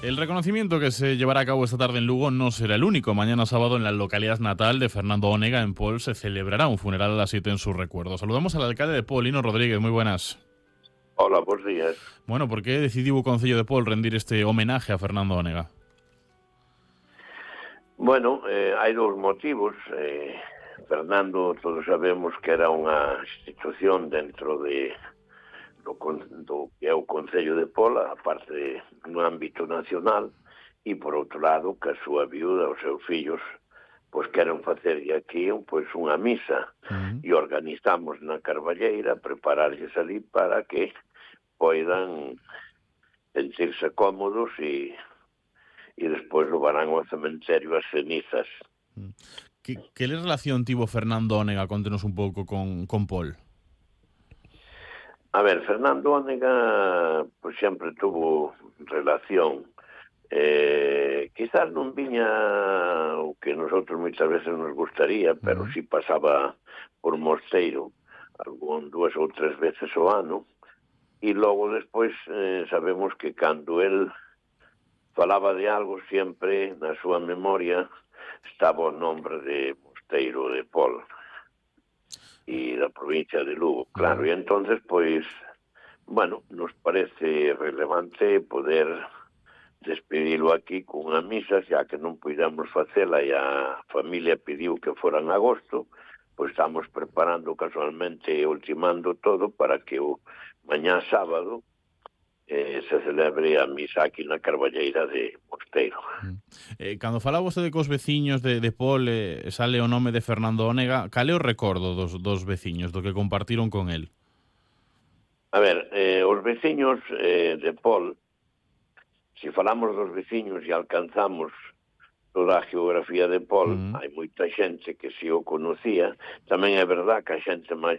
El reconocimiento que se llevará a cabo esta tarde en Lugo no será el único. Mañana sábado, en la localidad natal de Fernando Onega, en Pol, se celebrará un funeral a las 7 en su recuerdo. Saludamos al alcalde de Pol, Lino Rodríguez. Muy buenas. Hola, bons días. Bueno, por que decidiu o Concello de Pol rendir este homenaje a Fernando Onega? Bueno, hai dous motivos. Fernando, todos sabemos que era unha institución dentro do que é o Concello de Pola, a parte no ámbito nacional, e, por outro lado, que a súa viuda, os seus fillos, pois queren facerlle aquí pois unha misa, e organizamos na Carballeira prepararlles ali para que poidan sentirse cómodos e despois levarán ao cementerio as cenizas. Que relación tivo Fernando Onega? Contenos un pouco con Pol. A ver, Fernando Onega pois sempre tuvo relación. Quizás non viña o que nosotros moitas veces nos gustaría, pero si pasaba por Mosteiro dúas ou tres veces ao ano, e logo despois sabemos que cando el falaba de algo sempre na súa memoria estaba o nombre de Mosteiro de Pol e da provincia de Lugo, claro, e entonces pois, bueno, nos parece relevante poder despedilo aquí cunha misa, xa que non puidamos facela e a familia pediu que fora en agosto, pois estamos preparando casualmente e ultimando todo para que o mañá sábado se celebre a misa aquí na Carballeira de Mosteiro. Cando falaba vostede cos veciños de Pol, sale o nome de Fernando Onega, cal é o recordo dos veciños, do que compartiron con el? A ver, os veciños de Pol, se falamos dos veciños e alcanzamos toda a geografía de Pol, hai moita xente que si o conocía. Tamén é verdad que a xente maior